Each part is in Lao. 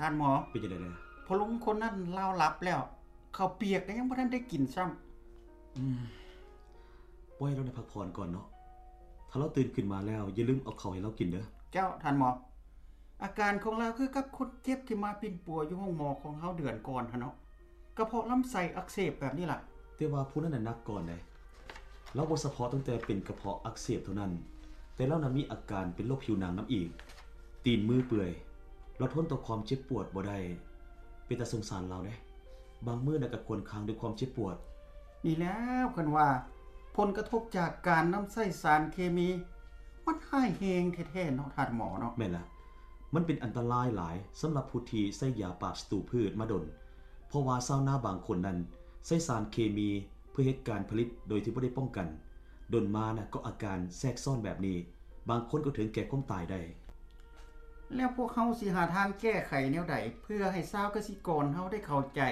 ທ່ານໝໍ ເປັນຈັ່ງໃດແດ່? ພໍ່ລຸງຄົນນັ້ນລາວຫຼັບແລ້ວ ເຂົ້າປຽກກໍຍັງບໍ່ທັນໄດ້ກິນຊ້ຳ. ອືມ ປ່ອຍລາວໄດ້ພັກຜ່ອນກ່ອນເນາະ. ຖ້າລາວຕື່ນຂຶ້ນມາແລ້ວ ຢ່າລືມເອົາເຂົ້າໃຫ້ລາວກິນເດີ້. ເຈົ້າ ທ່ານໝໍ. ອາການຂອງລາວຄືກັບຄົນເຈັບທີ່ມາປິ່ນປົວຢູ່ໂຮງໝໍຂອງເຮົາເດືອນກ່ອນຫັ້ນເນາະ. ກະເພາະລຳໄສ້ອັກເສບແບບນີ້ລະ. ແຕ່ວ່າຜູ້ນັ້ນນະໜັກກ່ອນໃດ໋. ລາວບໍ່ສະເພາະຕັ້ງແຕ່ເປັນກະເພາະອັກເສບເທົ່ານັ້ນ, ແຕ່ລາວນະມີອາການເປັນໂລກຜິວໜັງນຳອີກ. ຕີນມືເປື່ອຍ, ລາວທົນຕໍ່ຄວາມເຈັບປວດບໍ່ໄດ້. ເປັນຕາສົງສານລາວເດ້. ບາງມື້ນະກະຄວນຄາງດ້ວຍຄວາມເຈັບປວດ. ນີ້ແລ້ວເພິ່ນວ່າ ຜົນກະທົບຈາກການນຳໃຊ້ສານເຄມີ ມັນຮ້າຍແຮງແທ້ໆເນາະ ທ່ານໝໍເນາະ. ແມ່ນລະ. ມັນເປັນອັນຕະລາຍຫຼາຍສຳລັບຜູ້ທີ່ໃຊ້ຢາປາບສັດຕູພືດມາດົນ, ເພາະວ່າຊາວນາບາງຄົນນັ້ນໃຊ້ສານເຄມີເພື່ອເຮັດການຜະລິດໂດຍທີ່ບໍ່ໄດ້ປ້ອງກັນ. ດົນມານະກໍອາການແຊກຊ້ອນແບບນີ້, ບາງຄົນກໍເຖິງແກ່ຄວາມຕາຍໄດ້. ແລ້ວພວກເຮົາຊິຫາທາງແກ້ໄຂແນວໃດ ເພື່ອໃຫ້ຊາວກະສິກອນເຮົາໄດ້ເຂົ້າໃຈ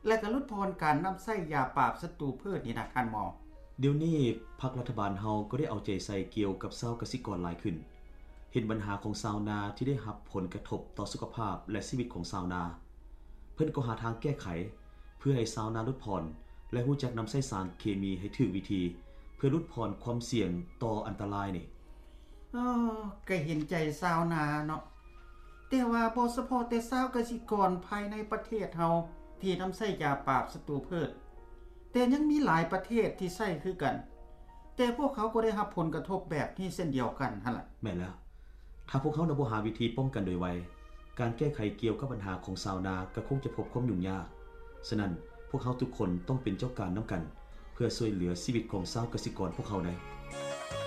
ແລະກະຫຼຸດຜ່ອນການນຳໃຊ້ຢາປາບສັດຕູພືດນີ້ນະ ທ່ານໝໍ? ດຽວນີ້ພັກລັດຖະບານເຮົາກໍໄດ້ເອົາໃຈໃສ່ກ່ຽວກັບຊາວກະສິກອນຫຼາຍຂຶ້ນ. ເຫັນບັນຫາຂອງຊາວນາທີ່ໄດ້ຮັບຜົນກະທົບຕໍ່ສຸຂະພາບ ແລະ ຊີວິດຂອງຊາວນາ. ເພິ່ນກໍຫາທາງແກ້ໄຂ ເພື່ອໃຫ້ຊາວນາຫຼຸດຜ່ອນ ແລະ ຮູ້ຈັກນຳໃຊ້ສານເຄມີໃຫ້ຖືກວິທີ ເພື່ອຫຼຸດຜ່ອນຄວາມສ່ຽງຕໍ່ອັນຕະລາຍນີ້. ເອີ ກະເຫັນໃຈຊາວນາເນາະ. ແຕ່ວ່າບໍ່ສະເພາະແຕ່ຊາວກະສິກອນພາຍໃນປະເທດເຮົາທີ່ນຳໃຊ້ຢາປາບສັດຕູພືດ, ແຕ່ຍັງມີຫຼາຍປະເທດທີ່ໃຊ້ຄືກັນ, ແຕ່ພວກເຂົາກໍໄດ້ຮັບຜົນກະທົບແບບນີ້ເຊັ່ນດຽວກັນຫັ້ນລະ. ແມ່ນແລ້ວ. ຖ້າພວກເຮົານະບໍ່ຫາວິທີປ້ອງກັນໂດຍໄວ, ການແກ້ໄຂກ່ຽວກັບບັນຫາຂອງຊາວນາກໍຄົງຈະພົບຄວາມຫຍຸ້ງຍາກ. ສະນັ້ນ, ພວກເຮົາທຸກຄົນຕ້ອງເປັນເຈົ້າການນຳກັນ ເພື່ອຊ່ວຍເຫຼືອຊີວິດຂອງຊາວກະສິກອນພວກເຮົາໄດ້.